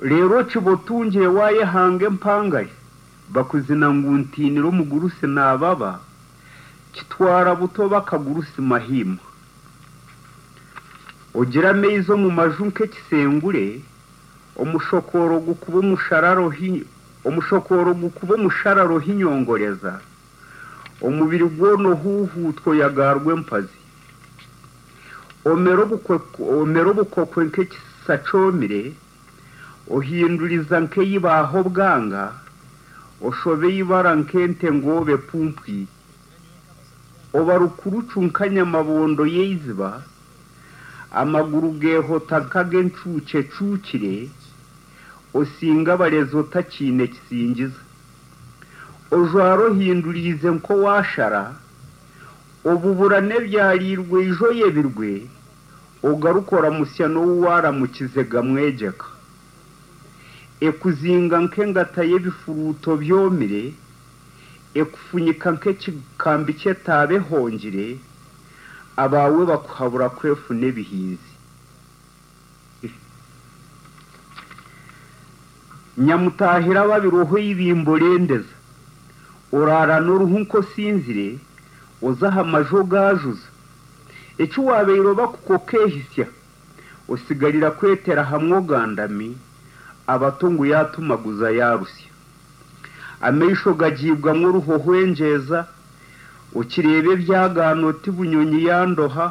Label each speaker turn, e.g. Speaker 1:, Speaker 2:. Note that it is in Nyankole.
Speaker 1: Reero okiba otungire waayehanga empangare, bakuzina ngu ntiinire omugurusi naababa, kitwara buto bakagurusi mahima. Ogira amaizi omu maju nk'ekisengure, omushokooro gukuba omushokooro gukuba omusharara ohinyongoreza, omubiri gwona ohuuhuutwa oyagaarwa empazi. Omera obukokwe nk'ekisa kyomire, ohinduriza nk'eibaaho obwanga, oshoba eibara nk'ente ngoobe epumpwire. Oba rukurucu nka nyamabondo y'eiziba, amaguru geehota nk'ag'encuukye ecuukire, osinga abarezi otakiine kisingiza. Ojwara ohinduriize nk'owaashara, obubura n'ebyariirwe ijo oyebirwe, ogaruka oramutsya n'ou waaramukize gamwegyeka. Ekuzinga nk'engata y'ebifuruuto byomire, ekufunyika nk'ekikambi ky'etaaba ehongire, abaawe bakuhabura kwefuna ebihinzi. Nyamutaahira ababiroho eibimbo rendeza, oraara n'oruhu nk'osinzire, oza aha maju ogaajuza. Eki waabaire oba kukokeehisya, osigarira kwetera hamwe ogandami, abato ngu yaatumaguza yaarusya. Amaisho gagiibwamu oruho hwengyeza, okireeba ebyagaana oti bunyonyi yandoha,